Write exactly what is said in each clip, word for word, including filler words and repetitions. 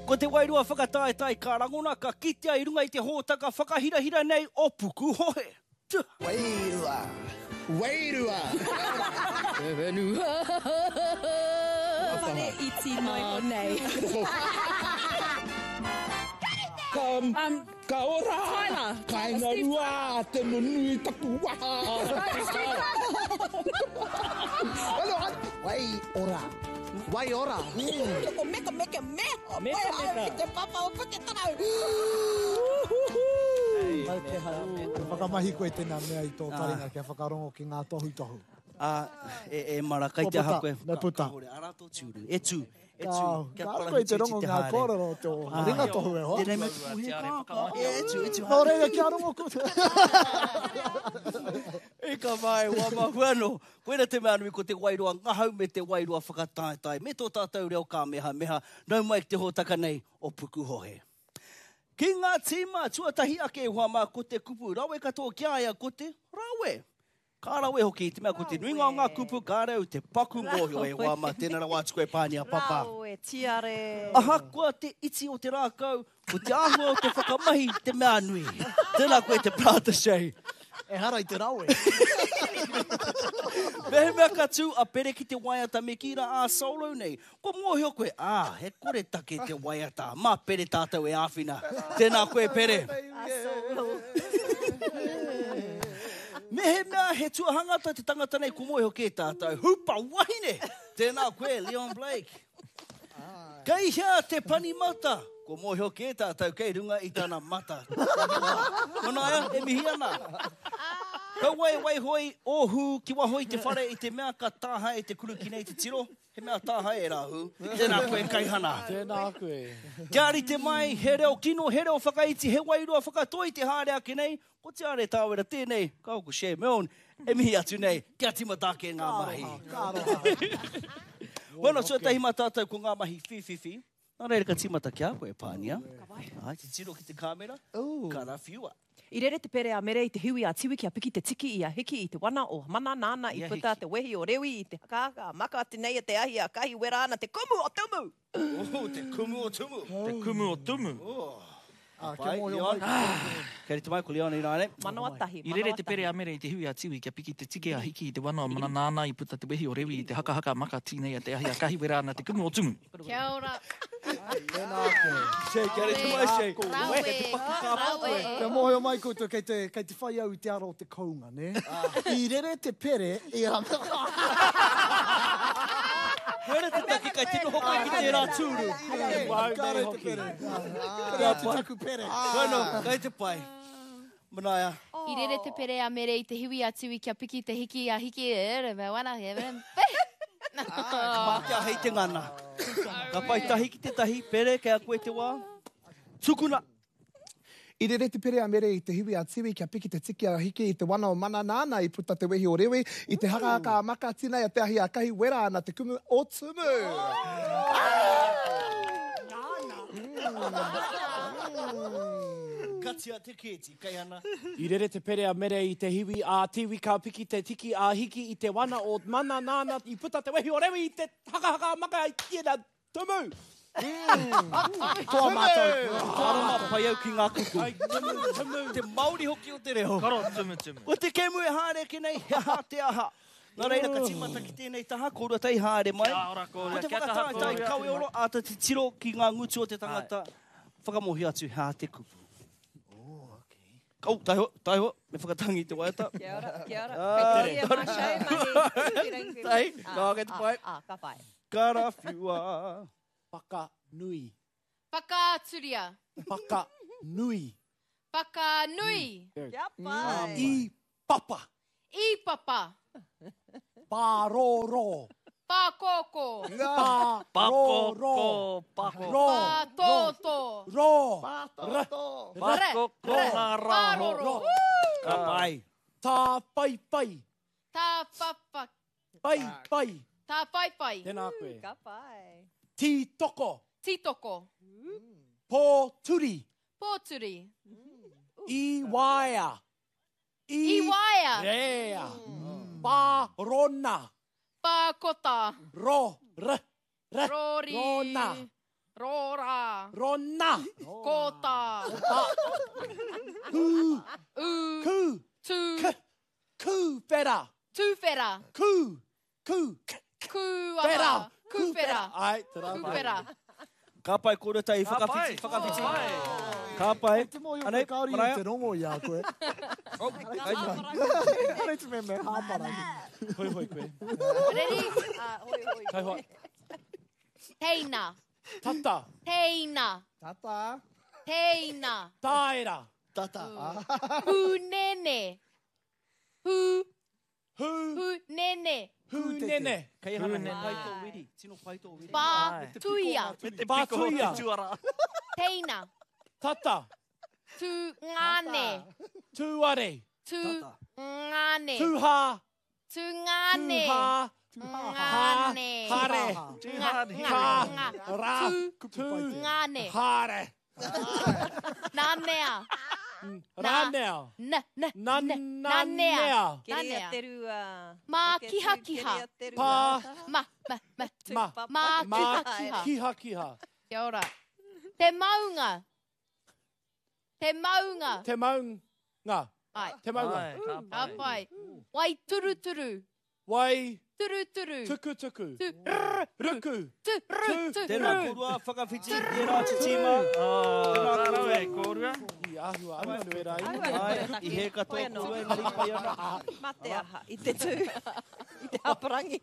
Ko te wairua whakataetae ka rangona ka kitea i runga i te hōtaka whakahirahira nei o Pukuhohe. Wairua! Wairua! Te whenua! Whare iti noi o nei. Ka, um, ka ora! Tyler! Kainga rua, te nunui taku waha! Wai ora! Wai ora! Mm. Ko meka meka me! Meka meka! Te papa o Puketarau! Whakamahi koe tēnā mea i tō taringa kia whakarongo ki ngā tohutohu. Ah, e, e mara, kai te aha koe. Me puta. Ara tō tūru. E tū, e tū. Kia Kāre koe te rongo ngā kōrero o tō ringa tohu e hoa. Tēnei mea te puhe kā, kā. E tū, e tū. Nō reira, kia rongo koutou. E ka mai, wā mahua no. Koira te mea nui ko te wairua ngahau me te wairua whakataetae. Me tō tātou reo kāmehameha. Nau mai ki te hōtaka nei o Pukuhohe. Ki ngā tīma, tuatahi ake e hoa mā, ko te kupu rawe katoa ki a ia ko te rawe. Ka rawe hoki, te mea ko te nuinga o ngā kupu ka rau te paku mōhio e hoa mā, tēnā rawa atu koe Pānia Papa. Rawe, tiare. Ahakoa te iti o te rākau, ko te āhua o te whakamahi te mea nui. Tēnā koe te Prata Shay. Ehara i te rawe. Mehemea ka tū a Pere ki te waiata me kī rā ā solo nei. Ko mōhio koe, ā, he kore take te waiata. Mā Pere tātou e āwhina. Tēnā koe Pere. A solo. Mehemea he tuahangata te tangata nei, ko mōhio kē tātou. Hupa wahine! Tēnā koe, Leon Blake. Kei hea te pani mata? Ko mōhio kē tātou kei runga i tana mata. Manaia, e mihi ana. Kaua e waihoi o hū ki waho i te whare i te mea ka tāhae te kuruki nei te tiro. He mea tāhae e rā hū. Tēnā koe Kaihana. Tēnā koe. Kia rite mai, he reo kino, he reo whakaiti, he wairua whakatoi te haere ake nei. Ko Te Are Tāwera tēnei, ka ko Shay Milne, e mihi atu nei, kia tīmata ake ngā mahi. Ka aroha. Bueno, tuatahi mā tātou ko ngā mahi whīwhiwhi. Nā reira ka tīmata ki a koe, Pānia. Ai, te tiro ki te kāmera, karawhiua. I rere te pere a Mere i te hiwi a Tiwi kia piki te tiki i a Hiki i te wana o Mana nāna i I a puta Hiki. te wehi o Rewi i te hakahaka a Maka teneia te ahi a Kahi wera ana te kumu o Tumu. Oh, te kumu o Tumu. Te kumu o Tumu. Ah, kia Pai, mōhio Leon. mai. Kei rite mai ko Leon i rānei. Manawa tahi, I rere manawa te pere tahi. a Mere i te hiwi a Tiwi kia piki te tiki a Hiki i te wana o Mana nāna i puta te wehi o Rewi i te hakahaka a Maka tīneia te ahi a Kahi wera ana te kumu o Tumu. Kia ora. Tēnā koe. Shay, kia rite mai, Shay. Rawe. Kei te paku kāpā koe. Rawe. Kia mōhio mai koutou, kei te, kei te whai au i te ara o te kounga, ne? I rere te pere i a... Koera te take kai te noho koe ki tērā tūru. Ka rere te pere. Kare atu taku pere. Bueno, kei te pai. Manaia. I rere te pere a Mere i te hiwi a Tiwi kia piki te hiki a Hiki e re me wana he me Mā te ahei te ngana. Ka pai tahi ki te tahi, Pere, kei a koe te wā. Tukuna. I rere te pere a Mere i te hiwi a Tiwi kia piki te tiki a Hiki i te wana o Mana nāna i puta te wehi o Rewi i te hakahaka a Maka tinei a te ahi a Kahi wera ana te kumu o Tumu. Katia te kēti, Kaihana. I rere te pere a Mere i te hiwi a Tiwi ka piki te tiki a Hiki i te wana o Mana nāna i puta te wehi o Rewi i te hakahaka a Maka i tēnā Tumu. Toa mātou. Aroma pai au ki ngā kupu. Ai, tumu, tumu. Te Māori hoki o te reo. Karo tumu tumu. Ko te kēmu e haere ake nei, he aha te aha. Nā reira, ka tīmata ki tēnei taha, kōrua tei haere mai. Kia ora kōrua, Ko te kia kaha whakataetae kōrua. kawe oro, āta titiro ki ngā ngutu o te tangata. Whakamōhio atu, he aha te kupu. Oh, taiho, taiho, me whakatangi te waiata. Kia ora, kia ora. Ah, Kei te mā Shay mahi. Tai, ka kei te pai. Ah, ka pai. Karawhiua. Whakanui. Whakaaturia. Whakanui. Whakanui. Kia pai. I papa. I papa. Pārōrō. Pākōkō. Pārōrō. Pākōkō, pākō. Rō. Pātōtō. Rō. Pākōkō ngā rā. Pāroro. Ka pai. Tāwhaiwhai. Tāpapa. Pai, pai. Tāwhaiwhai. Tēnā koe. Ka pai. Tītoko. Tītoko. Pōturi. Pōturi. I waea. I waea. Rea. Pārona. Pākota. Ro. R. R. Rori. Rona. Rora. Rona. Kōta. Hū. U. Kū. Tū. K. Kūwhera. Tūwhera. Kū. Kū. K. Kūaha. Whera. Kūwhera. Ai, te rā. Kūwhera. Ka pai kōrua tahi, Ka pai. whakawhiti, whakawhiti. Ai. Ka pai. Te mōhio Anei, koe kāore i Maraea. te rongo i a koe. Oh, ai. Arei te mea me hāparangi. Hoi hoi koe. Ready? Ah, hoi, hoi. Kai hoa. Teina. Tata. Teina. Tata. Teina. Taera. Tata. Hūnene. Hū. Hū. Hūnene. Hūnene. Kei hana he pai tō wiri. Tino pai tō wiri. Pā. Ai. Tuia. Me te piko o te Pātuia. tuara. Teina. Tata. Tū ngāne. Tūare. Tū ngāne. Tūhā. Tū ngāne. Tūhā. Ngāne. Hare. Nga, nga, Ka. nga. Ra. Tū. Tū. Ngāne. Hare. Nanea. Ranea. Na, na, Na, na, nanea. nanea. Keria Nanea. te rua. Mā Eke tū, kiha kiha. keria te rua. Pā. Ma, ma, ma. Ma. Mā Ma. kiha kiha. Kiha kiha. Kia ora. Te maunga. Te maunga. Te maunga. Ai. Te maunga. Ai, ka Ka pai. pai. Wai turuturu. Wai. Turuturu. Tukutuku. Tu, rr, Ruku. tu, ru, Tu. tu, Tēnā ru. kōrua, whakawhiti, tērā te tīma. Oh, ka rawe, kōrua. I āhua anuanu e rā. Ai, i he katoa Hoi anō. kōrua, engari pai ana. Mā te aha, i te tū, i te hāparangi.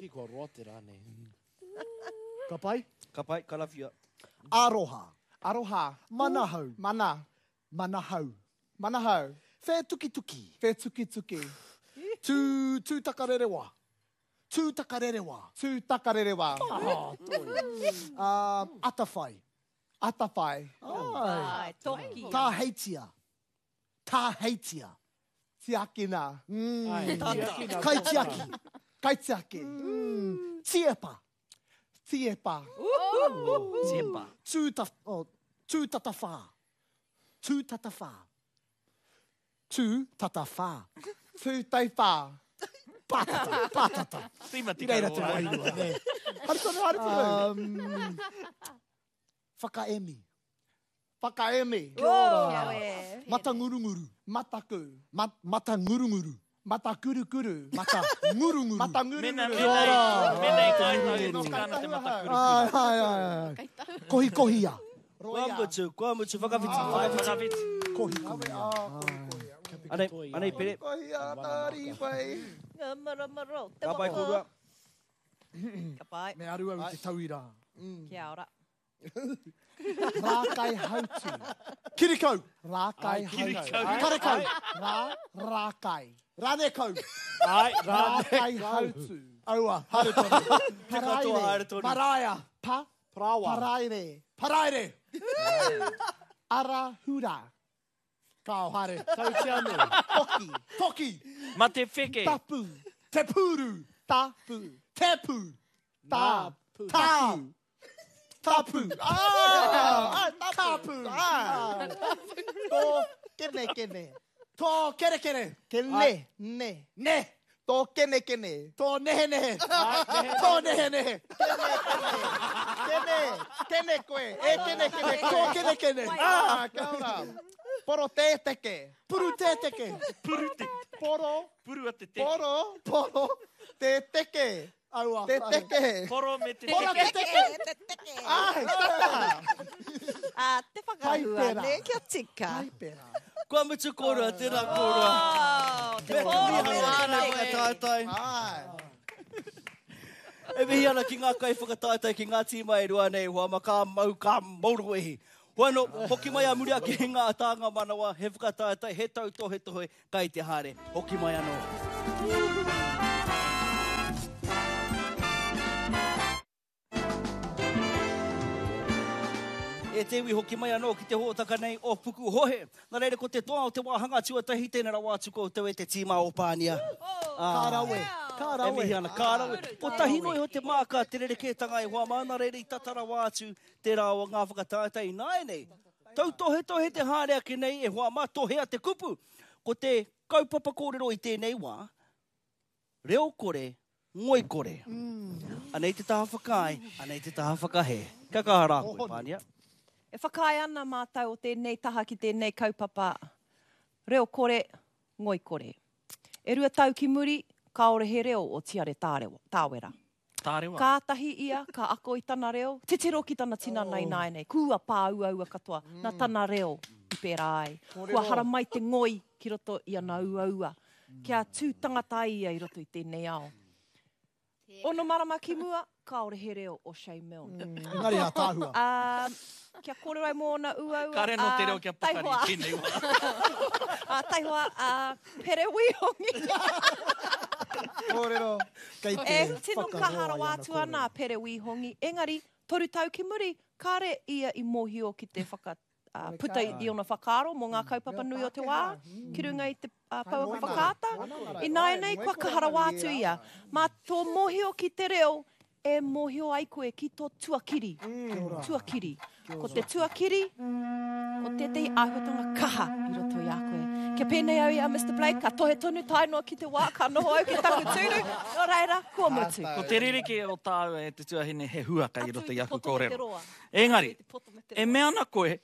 Ki kua roa te rā nei. Ka pai? Ka pai, ka rawhia. Aroha. Aroha. Manahau. Mana. Manahau. Manahau. Whētukituki. Whētukituki. Tū, tūtakarerewa. Tūtakarerewa. Tūtakarerewa. Oh, toi. Um, atawhai. Atawhai. Ai. Ai, toki. Tāheitia. Tāheitia. Tiakina. Mm. Ai, tiakina. Kaitiaki. Kaitiaki. Mm. Tiepa. Tiepa. Tiepa. Tūta, oh, tūtatawhā. Tūtatawhā. Tūtatawhā. Tūteiwhā. Pātata, pātata. Tima I reira te tika wairua, nē. Haere tonu, haere tonu. Um, whakaemi. Whakaemi. Kia ora. Kia e. Matangurunguru. Mataku. Ma, matangurunguru. Matakurukuru. Matangurunguru. Matangurunguru. Mena, Kia ora. mena, mena i kai tau e tika ana te matakurukuru. Ai, ai, ai, ai. Kohi kohia. Kua mutu, kua mutu, whakawhiti, whakawhiti. Whakawhiti. Kohi kohia. Anei, anei, pere. Kohia tāriwai. Ngā maromaro, te Ka pai waka. kōrua. Ka pai. Me aru au i te tauira. Kia ora. Rākai hautu. Kirikau. Rākai hautu. Karekau. Rā, rākai. Ranekau. Ai, rā. Rākai hautu. Aua. Haere tonu. Te katoa haere tonu. Maraia. Pa, Parawa. paraire. Paraire. Ara hura. Kao, haere. Tautianu. Toki. Toki. Mate wheke. Tapu. Te pūru. Tapu. Te pū. Ta. Tā. Tapu. Ah, Tapu. Ah. Tō kene kene. Tō kerekere. Kene. Ne. Ne. Tō kene kene. Tō nehe nehe. Tō nehe nehe. Kene. Kene koe. E kene kene Tō koe. kene kene. Ah, kia ora. Poro tēteke. Puru tēteke. Puru te. Poro. Puru a te teke. Poro. Poro. Tēteke. Aua. Tēteke. Poro me te Poro teke. te teke. Te teke. Ai, tata. Ah, te whakahua, Paipera. ne, kia tika. Paipera. Kua mutu kōrua, tēnā kōrua. Oh, te Me te pōro miharo me tēnei te whakataetae. Ai. E mihi ana ki ngā kai whakataetae ki ngā tīma e rua nei, hoa ma ka mau, ka mauroehi. Hoa no, hoki mai a muri ake ngā tānga manawa, he whakataetae, he tautohetohe, kai te haere. Hoki mai anō. E te iwi hoki mai anō ki te hōtaka nei o Pukuhohe. Nā reira ko te toa o te wāhanga tuatahi tēnā rawa atu koutou e te tīma o Pānia. Ka rawe. Ka E rawe. mihi ana, ka rawe. Ko tahi noi o te māka, te rerekētanga e hoa mā, nā reira i tatara wā atu te rā o ngā whakataetae i nāianei. Tautohetohe te haere ake nei e hoa mā, tohea te kupu. Ko te kaupapa kōrero i tēnei wā, reo kore, ngoi kore. Anei te taha whakaae, anei te taha whakahē. Kia kaha rā koe, Pānia. E whakaae ana mātou o tēnei taha ki tēnei kaupapa reo kore, ngoi kore. E rua tau ki muri, kāore he reo o Tiare Tāwera. Tārewa. Kātahi ia, ka ako i tana reo, titiro ki tana tinana oh. Ināianei, kua pāuaua katoa, mm. Nā tana reo i pērā ai. Kua haramai te ngoi ki roto i ana uaua, kia tū tangata ai ia i roto i tēnei ao. Ono marama ki mua, kāore he reo o Shay Milne. Mm. Engari a tāhua. Um, kia kōrero ai mō ona uaua. Kāre no te reo kia pakari i tēnei wā. uh, taihoa, uh, Pere Wihongi. Kōrero. Kei te E tino kaha rawa atu ana a Pere Wihongi. Engari, toru tau ki muri, kāre ia i mōhio ki te whaka, uh, puta i ona whakaaro mō ngā kaupapa nui o te wā, ki runga i te uh, pouaka whakaata. Ināianei, kua kaha rawa atu ia. Mā tō mōhio ki te reo, e mōhio ai koe ki tō tuakiri. Tuakiri. Ko te tuakiri, ko tētehi āhuatanga kaha i roto i a koe. Kia pēnei au i a Mister Blake, ka tohe tonu tae noa ki te wā, ka noho au ki taku tūru, nō reira, kua mutu. Ko te ririki o tāua e te tuahine he huaka i roto i aku kōrero. Engari, e mea ana koe,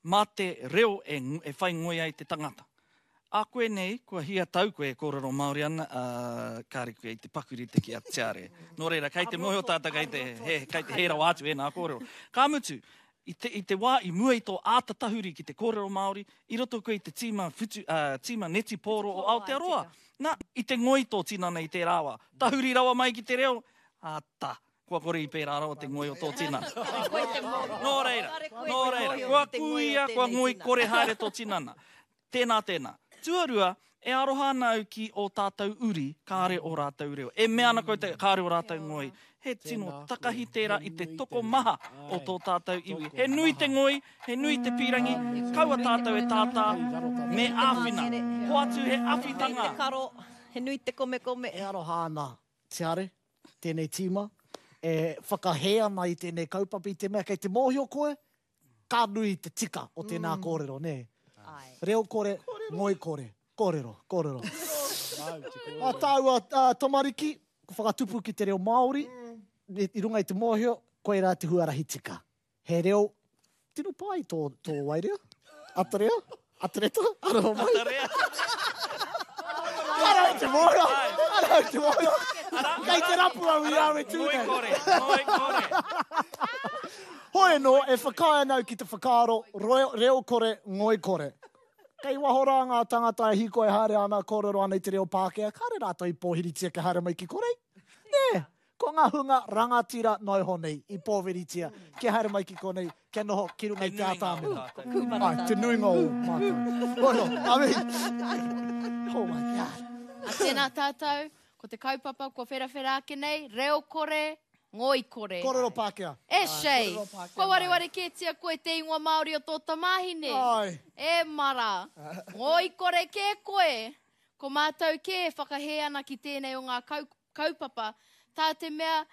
mā te reo e, e whai ngoi ai te tangata. A koe nei, kua hia tau koe e kōrero Māori ana, uh, kāre koe i te pakurite ki a Tiare. Nō reira, kei te mōhio tātou, kei te, he, kei te hē rawa atu e nā kōrero. Ka mutu, i te, i te wā i mua i tō āta tahuri ki te kōrero Māori, i roto koe i te tīma, futu, uh, tīma netipōro o Aotearoa. Nā, i te ngoi tō tinana i tērā wā. Tahuri rawa mai ki te reo, ā ta, kua kore i pērā rawa te ngoi o tō tinana. Nō reira, nō reira, kua kuia, kua ngoi kore haere tō tinana. Tēnā, tēnā. Tuarua, e aroha ana au ki o tātou uri, kāre o rātou reo. E mea ana koutou, kāre o rātou ngoi. He tino takahi tērā i te tokomaha o tō tātou iwi. He nui te ngoi, he nui te pīrangi, kaua tātou e tātā, me āwhina. Hoatu he awhitanga. He nui te karo, he nui te komekome. E aroha ana, Tiare, tēnei tīma, e whakahē ana i tēnei kaupapa i te mea, kei te mōhio koe, ka nui te tika o tēnā kōrero, nē. Reo kore, ngoi kore. Kōrero, kōrero. A tāua uh, tamariki, ko whakatupu ki te reo Māori, i runga i te mōhio, koe rā te huarahi tika. He reo, tino pai tō, tō wairea? Atarea? Atareta? Aroha mai? Atarea. Ara i te mōhio! Ara i te mōhio! Kei te rapu au i au e tū nei. Ngoi kore, ngoi kore. Hoi anō, e whakaae ana au ki te whakaaro, reo, reo kore, ngoi kore. Kei waho rā ngā tangata e hīkoi haere ana, kōrero ana i te reo Pākehā, kāre rātou i pōhiritia kia haere mai ki korei. Nē, ko ngā hunga rangatira noiho nei i pōhiritia kia haere mai ki konei, kia noho ki runga i te atamira. Ai, te nuinga o mātou. Hoi no, ami. Oh my God. A tēnā tātou, ko te kaupapa kua wherawhera ake nei, reo kore, ngoi kore. Kōrero Pākehā. E Shay, kua wareware kētia koe te ingoa Māori o tō tamāhine. Ai. E mara, ngoi kore kē koe. Ko mātou kē e whakahē ana ki tēnei o ngā kaupapa. Tā te mea,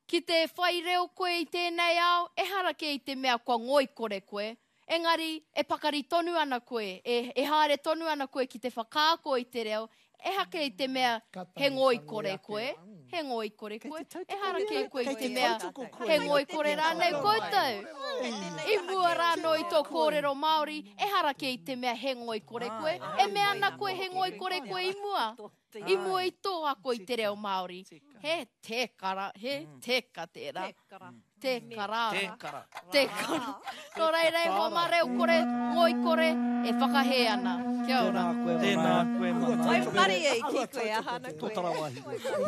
ki te whai reo koe i tēnei ao, ehara kē i te mea kua ngoi kore koe. Engari, e pakari tonu ana koe, e, e haere tonu ana koe ki te whakaako i te reo, ehake i te mea he ngoi kore koe, he ngoi kore koe, ehara kē koe i te mea he ngoi kore rānei koutou. I mua rānō i tō kōrero Māori, ehara kē i te mea he ngoi kore koe, e mea ana koe he ngoi kore koe i mua. I mua i tō ako i te reo Māori. He tēkara, he tēka tērā. Te kara. Te kara. Te kara. Nō reira e hoa mā reo kore, ngoi kore, e whakahē ana. Kia ora. Tēnā koe mana. Wai mari e ki koe, ahana koe.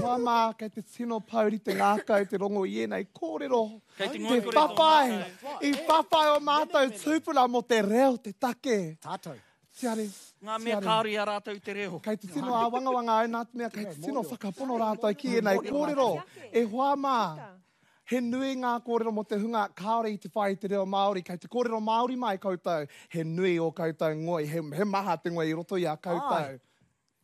Hoa mā, kei te tino pauri te ngākau, te rongo i ēnei kōrero. Kei te Te ngoi kore tō whawhai, ngākau. i whawhai o mātou tūpuna mō te reo, te take. Tātou. Tiare, Ngā mea kāore i a rātou te reo. Kei te tino āwangawanga au nā te mea, kei te tino whakapono rātou ki ēnei kōrero. E hoa mā, he nui ngā kōrero mō te hunga kāore i te whai i te reo Māori. Kei te kōrero Māori mai koutou, he nui o koutou ngoi, he, he maha te ngoi i roto i a koutou.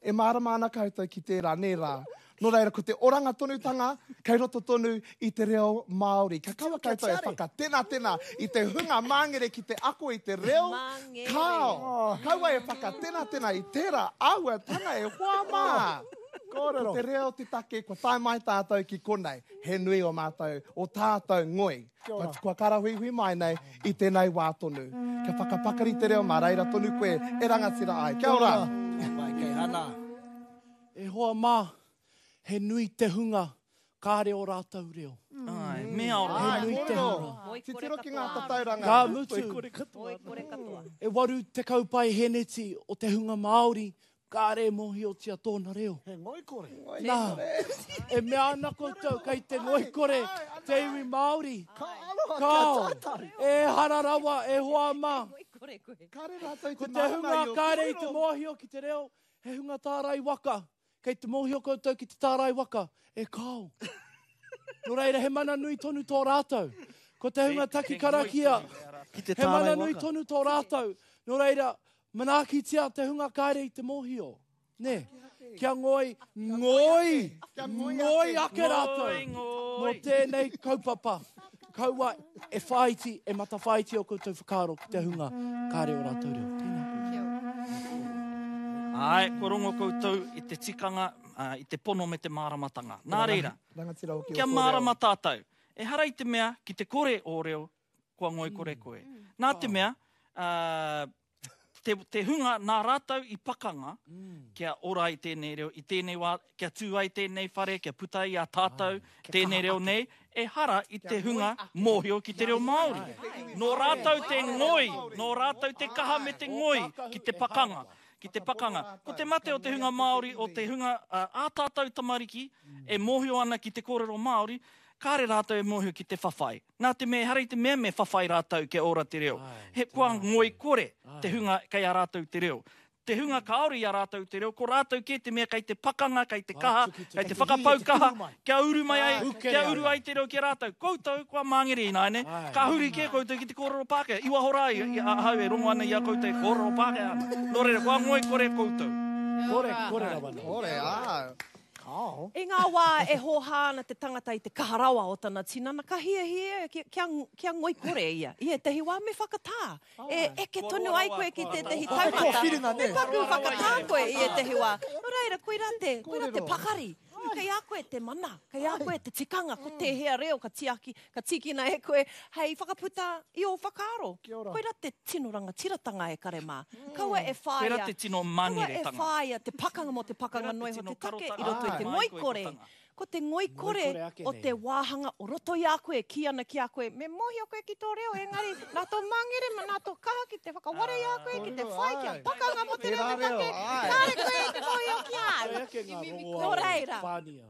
E mārama ana koutou ki tērā, nē rā. Nō reira, ko te oranga tonutanga, kei roto tonu i te reo Māori. Ka kaua koutou e whakatenatena i te hunga māngere ki te ako i te reo. Māngere. Kāo, kaua e whakatenatena i tērā āhuatanga e hoa mā. Ko te reo te take, kua tae mai tātou ki konei, he nui o mātou, o tātou ngoi. Kua, kua karahuihui mai nei i tēnei wā tonu. Kia whakapakari te reo mā reira tonu koe e rangatira ai. Kia ora! Pai, kei hana. E hoa mā, he nui te hunga, kāre o rātou reo. Ai, me aroha. He nui te hunga. Titiro ki ngā tatauranga. Ka mutu, e waru tekau paeheneti o te hunga Māori, kāre mōhiotia tōna reo. He ngoikore. Nā, e mea ana koutou kei te ngoikore te iwi Māori. Ka aroha Kao, kia tātou. e hara rawa, e hoa mā. Kāre rātou i Ko te te mārama hunga i o kāre i te kōrero. mōhio ki te reo, he hunga tārai waka. Kei te mōhio koutou ki te tārai waka, e kao. Nō reira, he mana nui tonu tō rātou. Ko te hunga taki karakia, Ki te he mana tārai nui waka. tonu tō rātou. Nō reira, manaakitia te hunga kāre i te mōhio. Nē, kia ngoi, ngoi, ngoi ake rātou. Ngoi, Mō tēnei kaupapa, kaua e whāiti, e matawhāiti o koutou whakaaro ki te hunga kāre o rātou reo. Tēnā. Ai, kua rongo koutou i te tikanga, uh, i te pono me te māramatanga. Nā reira, Rangatira hoki o kia tō reo. mārama tātou. Ehara i te mea ki te kore o reo, kua ngoikore koe. Nā te mea, uh, te, te hunga nā rātou i pakanga, kia ora ai tēnei reo, i tēnei wā, kia tū ai tēnei whare, kia puta ai a tātou, tēnei reo nei, ehara i te hunga mōhio ki te reo Māori. Nō rātou te ngoi, nō rātou te kaha me te ngoi ki te pakanga. Ki te pakanga. Ko te mate o te hunga Māori, o te hunga uh, ā tātou tamariki, e mōhio ana ki te kōrero Māori, kāre rātou e mōhio ki te whawhai. Nā te mea, ehara i te mea me whawhai rātou kia ora te reo. He kua ngoi kore te hunga kei a rātou te reo. Te hunga kāore i a rātou te reo, ko rātou kē te mea kei te pakanga, kei te kaha, kei te whakapau kaha, kia uru mai ai, kia uru ai te reo ki a rātou. Koutou, kua māngere ināiane, ka huri kē koutou ki te kōrero Pākehā. I waho rā i, i ahau e rongo ana i a koutou e kōrero Pākehā ana. Nō reira, kua ngoi kore koutou. Kore, kore rawa nei. Kore, ā. Kao. I ngā wā e hōhā ana te tangata i te kaha rawa o tana tinana, ka hiahia kia, kia, kia ngoikore ia. I ētahi wā me whakatā. E eke tonu ai koe ki tētahi taumata. Kua whiringa, nē. Me paku whakatā koe i ētahi wā. Nō reira, koirā te, koirā te pakari. Kei a koe te mana, kei a koe te tikanga, ko tēhea reo ka tiaki, ka tīkina e koe hei whakaputa i ō whakaaro. Koirā te tino rangatiratanga e kare mā. Kaua e whāia, Koirā te tino kaua e mangeretanga. whāia te pakanga mō te pakanga Koirā te noa iho tino te take i karotanga. roto i te Ai. ngoikore. Ko te ngoikore Ngoikore ake o nei. te wāhanga o roto i a koe, ki ana ki a koe, me mōhio koe ki tō reo, engari nā tō mangere, ma nā tō kaha ki te whakaware i a koe, ki te whai, kia pakanga mō te reo Tērā te reo, take, ai. kāre koe i te mōhio ki a au. Koe ake ngā rongoā Nō reira. Pānia.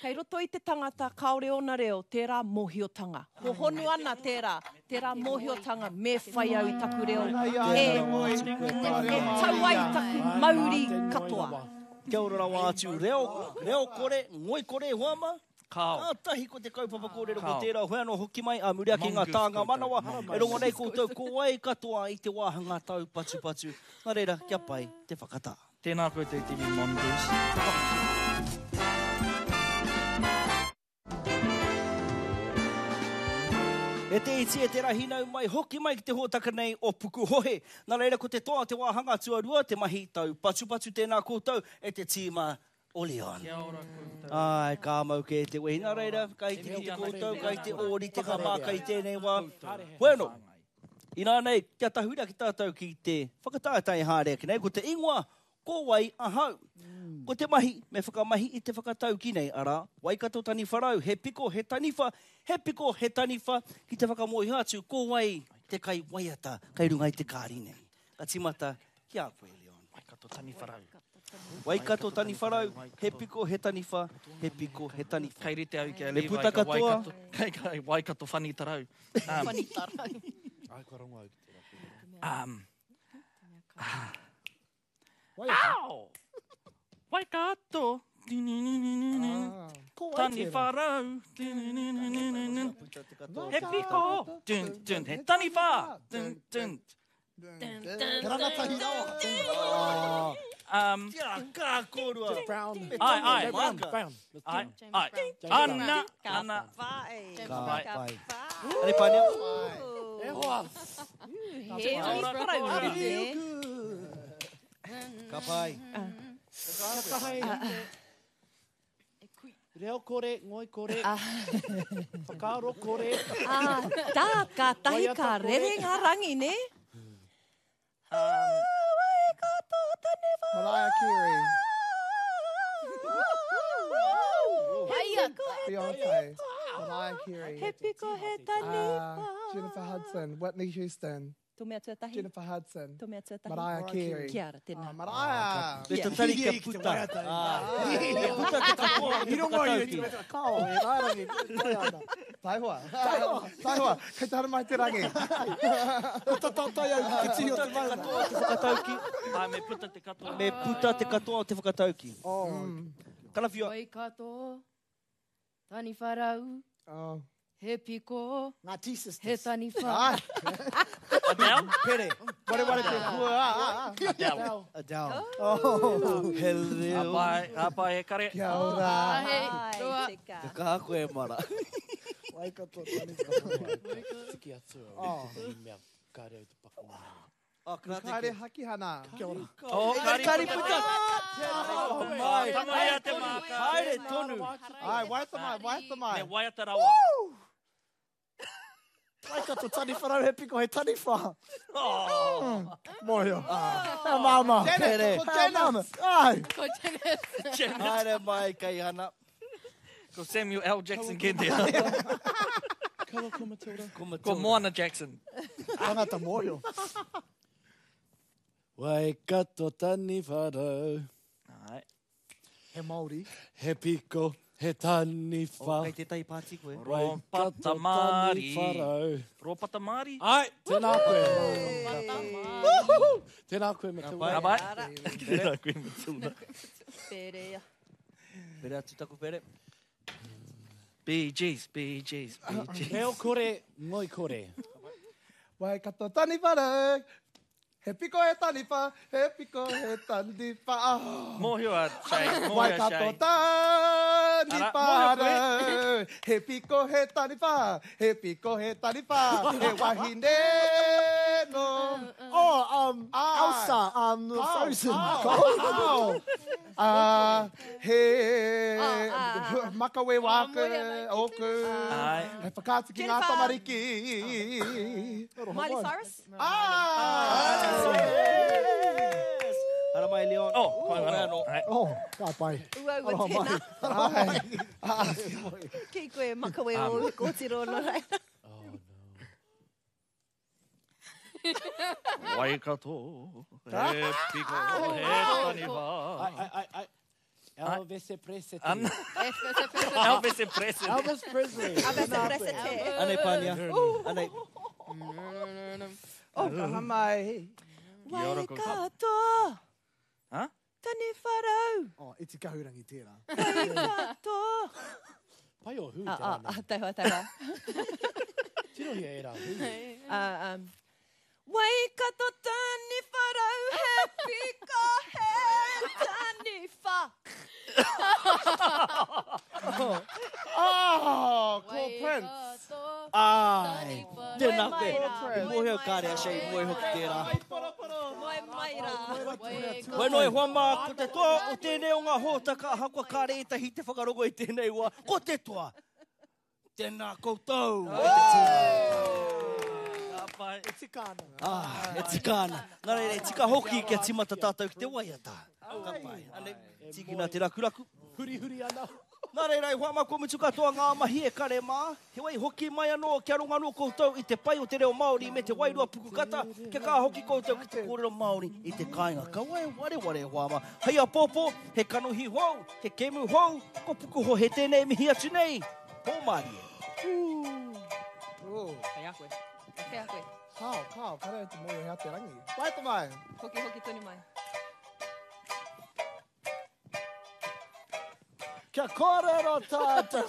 Kei roto i te tangata kāore ōna reo, tērā mōhiotanga. Hohonu ana tērā, tērā mōhiotanga me whai au i taku reo. E, e tau ai taku mauri katoa. Kia ora rawa atu, reo, reo kore, ngoi kore hoa mā. Kao. Kātahi ko te kaupapa kōrero ko Kao. tērā hoi anō hoki mai a muri ake ngā Mongoose tānga koutou. manawa. E rongo nei koutou ko wai katoa i te wāhanga tau patu patu. Nā reira, kia pai te whakatā. Tēnā koutou te iwi Mongoose. E te iti e te rahi nau mai, hoki mai ki te hōtaka nei o Pukuhohe. Nā reira ko te toa te wāhanga tuarua, te mahi tau patupatu tēnā koutou e te tīma o Leon. Kia ora koutou. Ai, ka mau kē te wehi. Nā reira, kai te rite koutou, kai te ōrite ka māka i tēnei wā. Bueno, inā nei, kia tahura ki tātou ki te whakataetae haere ake nei, ko te ingoa, ko wai ahau. Ko te mahi, me whakamahi i te whakatauki nei, arā, Waikato Taniwharau, he piko, he taniwha, he piko, he taniwha, ki te whakamōhio atu, ko wai te kai waiata, kai runga i te kāri nei. Ka timata, ki a koe, Leon. Waikato Taniwharau. Waikato Taniwharau, he piko, he taniwha, he piko, he taniwha. Kei rite au ki a Me Levi, puta ka katoa. Waikato, kei, kei Waikato Whanitarau. Um, Whanitarau. Ai, kua rongo au ki tērā. um, Waiata. Au! Waikato! Ah. Ko wai tērā? Taniwharau! He piko! Dun, dun, he taniwha! Dun, dun. Te rangatahi rawa. Um, Kia kā kōrua. Brown. Ai, ai. Brown, Brown. ai, ai. Ana, ana. James Ka Brown. pai. Are Pānia? E hoa. He ori Ka pai. Ka kaha e. Reo kore, ngoi kore, whakaaro kore. Ah, tā, ka tahi ka rere ngā rangi, ne? Mariah Carey. Waiata. Beyonce. Mariah Carey. He piko he taniwha. Uh, Jennifer Hudson. Whitney Houston. Tō mea tuatahi. Jennifer Hudson. Tō mea tuatahi. Mariah Carey. Kia ora, tēnā. Oh, Mariah. Me tatari kia puta. Kia puta te katoa o te whakatauki. Kao, e rārangi, pai ana. Taihoa. Taihoa. Taihoa. Kei te haramai te rangi. Ko tatai au ki te tihi o te maunga. Katoa o te whakatauki. Ai, me puta te katoa. Me puta te katoa o te whakatauki. Oh. Karawhiua. Waikato, taniwha rau, Oh. he piko, Ngā T-sisters. he taniwha. Ai. Adele? Pere. Ware ware te hua. Ah, ah. Adele. Adele. Oh. Hello. Apai, apai e kare. Kia ora. Ai, roa. Ai, tika. Ka kaha koe, Mara. Waikato, taniwha. Tiki atu au. Tētahi mea kāre au te paku. Oh, karate Kāre ke. Hakihana. Kia ora. Oh, Kari, kari kari puta. Mai. Tangaia te māka. Haere tonu. Ai, waiata mai, waiata mai. Me waiata rawa. Waikato, taniwha rau, he piko, he taniwha. Oh. Mōhio. Hea māma. Janet, ko Hea Janet. māma. Ai. Ko Janet. Janet. Haere mai, Kaihana. Ko Samuel L. Jackson kei te. Kaua ko Matilda. Ko Matilda. Ko Moana Jackson. Tangata mōhio. Waikato taniwha rau, Ai. He Māori. he piko, he taniwha. Oh, kei tētahi pāti koe. Ropata Māri. Taniwha rau. Ropata Māri. Ai, tēnā koe. Tēnā koe, Matilda. Ka pai. Tēnā koe, Matilda. Perea. Pere atu taku pere. Bee Gees, Bee Gees, Bee Gees. Reo kore, ngoi kore. Waikato taniwha rau. He piko he taniwha, he piko he taniwha. Oh. Mōhio a Shay, mōhio a Waikato Shay. taniwha Ara, mōhio rau. He piko he taniwha, he piko he taniwha, he wahine no. Oh, um, Ai. Elsa, um, Frozen. Kao. Ah, he Ah, ah, makawe wāku, Ah, moe oku. Ai. He whakaatu ki ngā Jennifer. tamariki. Miley Cyrus? Ah! Yes. Hara mai, Leon. Oh, koe anō. Ai. Oh, ka pai. Uaua Aroha tēnā. Ai. Ki koe makawe o kōtiro no reira. Waikato, he piko, he taniwha. Ai, ai, ai, ai. Elvis Presley. Ana. Elvis Elvis Presley. Elvis Presley. Elvis Presley. Anei, Pānia. Anei. Oh, kaha mai. Waikato. Ha? Taniwha rau. Oh, iti kahurangi tērā. Waikato. Pai o hu Ah, te ah, rana. ah, taihoa, taihoa. Tirohia e rā hu. Ah, um, Waikato taniwha rau, he piko, he taniwha. Oh, ko Prince. Ai. Tēnā koe. Moe mai rā. I mōhio kāre a Shay, mōhio hoki tērā. Moe mai rā. Koe no e hoa mā, ko te toa o tēnei o ngā hōtaka, ahakoa kāre ētahi te whakarongo i tēnei wā, ko te toa. Tēnā koutou. E te tīma. Ka pai. E tika ana. Ah, e tika ana. Nā reira, e tika hoki kia tīmata tātou ki te waiata. Ka pai. Anei, tīkina te rakuraku. Huri huri ana. Nā reira, e hoa mā, kua mutu katoa ngā mahi e kare mā. Heoi hoki mai anō, kia rongo anō koutou i te pai o te reo Māori me te wairua pukukata, kia kā hoki koutou ki te kōrero Māori i te kāinga. Kaua e wareware e hoa mā. Hei apōpō, he kanohi hou, he kemu hou, ko pukuhohe tēnei mihi atu nei. Pō mārie. Oh. Kei a koe. Kei a koe. Kao, kao, kare te mōhio hea te rangi. Waiata mai. Hoki, hoki tonu mai. Kia kōrero tātou.